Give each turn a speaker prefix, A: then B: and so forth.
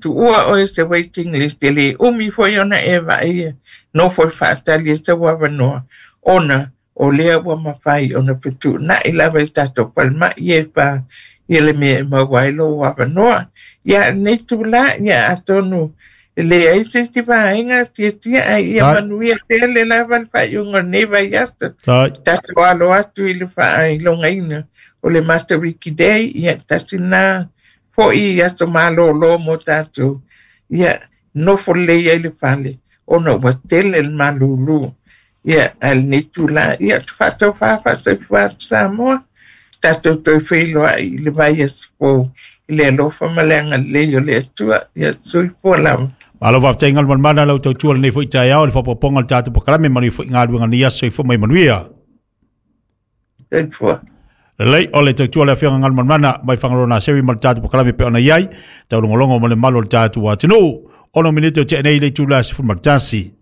A: Tuua oe i se waiting list, e le umi foi ona e vaaia nofo faatali i sou avanoa, ona o lea ua mafai ona fetuunai lava i tatou falemai e fa ia le mea e maua ai lou avanoa. Ia, lenei itulā, ia atonu e leai se isi vaega tiatia, ae ia manuia tele lava le faaiuga o lenei vaiaso. Tatou alo atu i le faailogaina o le Matariki Day, ia tasi lena foi aso malolo mo tatou. Ia nofo lelei ai le fale ona ua tele le malūlū. Ia, ae lenei itulā, ia faatofa faasoifua atu Samoa. Tatou toe feiloai i le vaiaso fou i le alofa ma le agalelei o le Atua. Ia soifua lava.
B: Malo faafetai Galumalemana lau tautua lenei foi taeao i le faaopoopoga o le tatou polokalame, manuia foi galuega nei aso, soifua mai manuia.
A: Soifua.
B: Lelei o le tautua le afioga Galumalemana mai Fagaloa Naseri ma le tatou polokalame pe ona i ai taulogologo ma le malu o le tatou atunuu. 6 minute o tea nei le itula 11.